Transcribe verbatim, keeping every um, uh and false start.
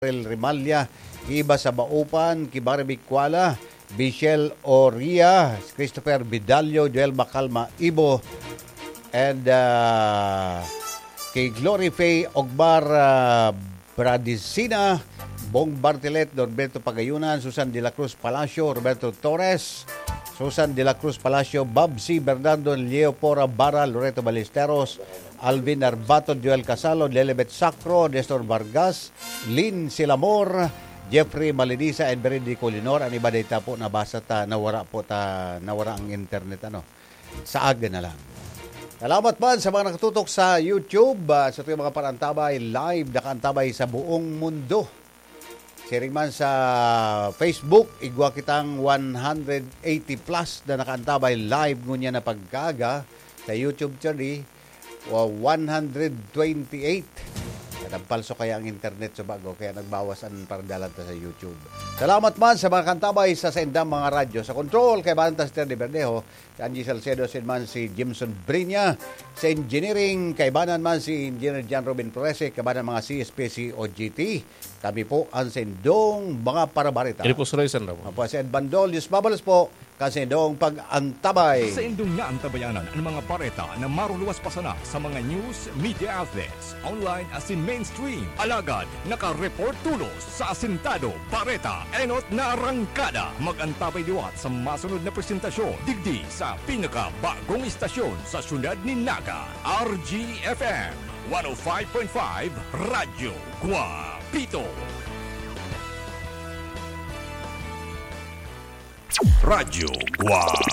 Rel Rimalla, Iba sa Baupan, Kibari Bicuala, Michelle Oria, Christopher Vidalio, Joel Macalma Ibo, and ah, kay Glory Faye Ogbar ah, Bradisina, Bong Bartilet, Norberto Pagayunan, Susan de la Cruz Palacio, Roberto Torres, Susan de la Cruz Palacio, Bob C. Bernardo, Leo Pora Bara, Loreto Ballesteros, Alvin Arbato, Joel Casalo, Lelebet Sacro, Nestor Vargas, Lynn Silamor, Jeffrey Malinisa, and Berenice Colinor. Ang iba data po nabasa ta, nawara po ta, nawara ang internet, ano. Sa aga na lang. Salamat man sa mga nakatutok sa YouTube, ah, sa ating mga parantabay, live, nakaantabay sa buong mundo. Siring man sa Facebook, igwa kitang one hundred eighty plus na nakaantabay live ngunyan na pagkaaga. Sa YouTube, Charlie, wa-, one hundred twenty-eight. Nagpalso kaya ang internet sa bago, kaya nagbawas ang pardalan ta sa YouTube. Salamat man sa mga kantabay sa saindang mga radyo. Sa control, kaibanan ta si Terry Bernejo, si Angie Salcedo, sin man si Jimson Brinya. Sa engineering, kaibanan man si Engineer John Robin Flores, kaibanan mga C S P C O G T. Kami po ang saindong mga parabarita. Ilipos Roy San Ramon. Opo, si Ed Bandol, Diyos mabalos po, kan saindong pag-antabay. Sa indong naantabayanan ang mga bareta na maruluwas pa sana sa mga news media outlets, online asin mainstream. Alagad, nakareport tolos sa Asintado Bareta, enot na arangkada. Mag-antabay liwat sa masunod na presentasyon, digdi sa pinakabagong istasyon sa siyudad nin Naga, R G F M one oh five point five Radyo Guapito. Radyo Guapito.